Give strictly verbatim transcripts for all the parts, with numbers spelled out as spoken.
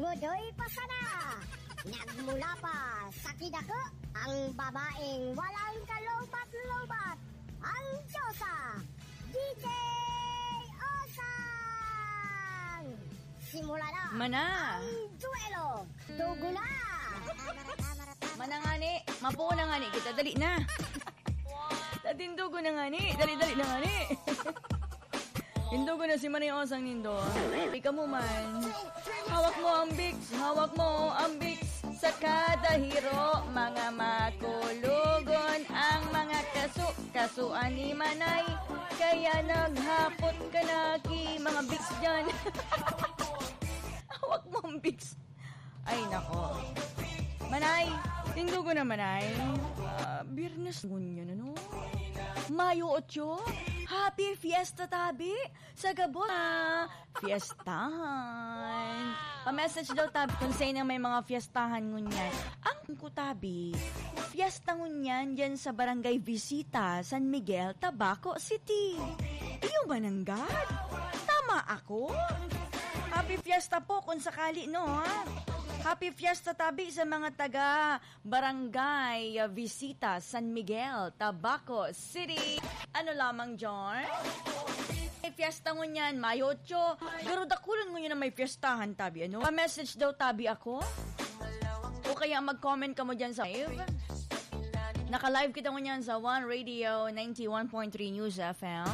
Godoy pa sana! Nagmula pa sa kidako, ang babaeng walang kalubat-lubat, ang diyosa, D J Osang! Simulan na Mana. Ang duelo! Dugo na! Manangani, mapuo na ngani kita, dali na. Tatindugo na ngani, dali-dali na ngani. Tindugo na si Manay Osang nindo. Ikaw mo man. Hawak mo ang Vicks, hawak mo ang Vicks. Sa kada hiro, mga makulugon ang mga kaso, kasuan ni Manay. Kaya naghapot ka na ki mga Vicks dyan. Hawak mo ang Vicks. Ay, nako. Manay, tindugo na, Manay. Ah, Biyernes ngunyan, ano? Mayo otso. Happy Fiesta, tabi! Sa gabos, ah, fiestahan. Pa-message daw, tabi, kung saan ang may mga fiestahan ngunyan. Ang ko, tabi, fiesta ngunyan dyan sa Barangay Visita, San Miguel, Tabaco City. Iyo ba nanggad? Tama ako? Happy Fiesta po kung sakali, no, ha? Happy Fiesta, tabi, sa mga taga Barangay, ah, Visita, San Miguel, Tabaco City. Ano lamang, John? May fiesta ngunyan, Mayo otso. Pero dakulon ngunyan na may fiestahan, tabi, ano? Pa-message daw, tabi, ako. O kaya mag-comment ka mo dyan sa live. Naka-live kita ngunyan sa One Radio ninety-one point three News F M.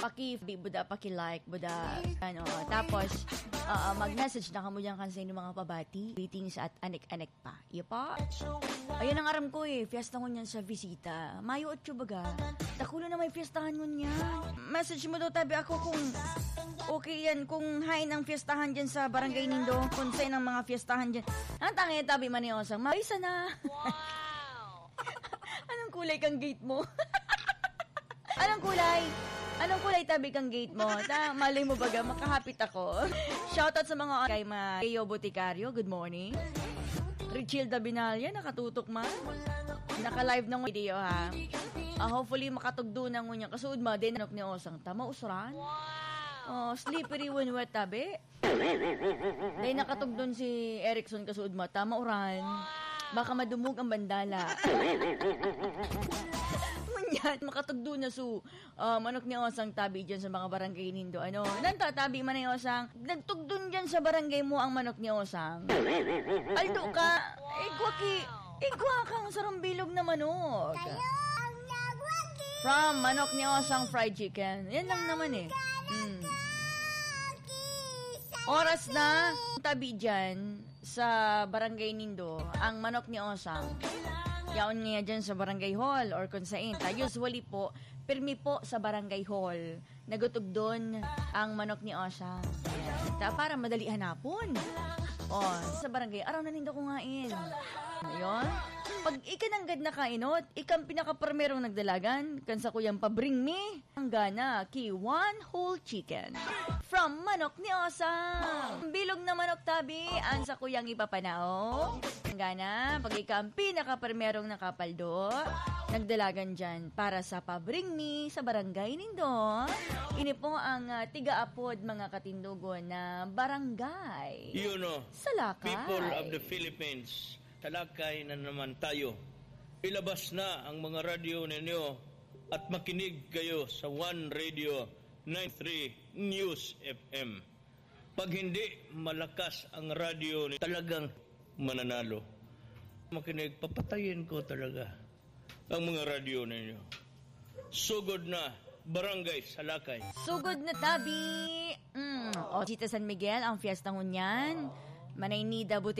Paki-, buda, paki-like, buda, ano. Tapos, ah, mag-message na kamo dyan kan sa inyong mga pabati, greetings at anek-anek pa. Iyo pa. Ayun ang aram ko eh, fiesta ngunyan sa Visita. Mayo otso baga. Dakulo na may fiestahan ngunyan. Message mo daw, tabi, ako kung okay yan, kung hain ang fiestahan dyan sa barangay nindo, kung saan ang mga fiestahan dyan. Ang tangin, tabi, Manay Osang, maisa na. Wow! Anong kulay kang gate mo? Anong kulay? Anong kulay, tabi, kang gate mo? Ta, malay mo baga, makahapit ako. Shoutout sa mga kay Ma-, Leo Boticario, good morning. Richilda Binalya, nakatutok man. Naka-live ng video, ha? Ah, hopefully, makatugdo na ngunyan. Kasuod ma, din anok ni Osang. Tama, usuran? Wow! Oh, slippery when wet, tabi. Dahil nakatugdon si Erickson kasuod mata, mauran. Wow! Baka madumog ang bandala. Ngunyan, makatugdon na su, ah, manok ni Osang tabi dyan sa mga barangay nindo. Ano? Nantatabi man ni Osang, nagtugdon dyan sa barangay mo ang manok ni Osang. Aldo ka, igwa ki, igwa kang sarong bilog na manok. Kayo ang nagwagi. From manok ni Osang fried chicken. Yan lang naman eh. Mm. Oras na, tabi dyan sa barangay nindo, ang manok ni Osang. Yaon niya dyan sa barangay hall or kung saan. Ta, usually po, pirmi po sa barangay hall. Nagutugdon ang manok ni Osang. Ayan. Ta, para madali hanapon. Oh, sa barangay, araw na nindo ko ngain. Ayun. Pag ikananggad na kainot, ikang pinakaprimerong nagdalagan, kan sa kuyang pabring mi. Ang gana ki one whole chicken. From manok ni Osang. Bilog na manok tabi, ang sakuyang ipapanao. Ang gana, pag ika ang pinakaprimerong nakapaldo, nagdalagan dyan para sa pabring mi sa barangay nindo. Ini po ang, ah, tigaapod, mga katindogon, na barangay. You know, Salakay. People of the Philippines, Salakay na naman tayo. Ilabas na ang mga radyo ninyo at makinig kayo sa One Radio ninety-three News F M. Pag hindi malakas ang radyo, ni-, talagang mananalo. Makinig, papatayin ko talaga ang mga radyo ninyo. Sugod na, Barangay Salakay. Sugod na tabi. Mm. O, Cita San Miguel, ang fiesta ngunyan. Manaynida, buti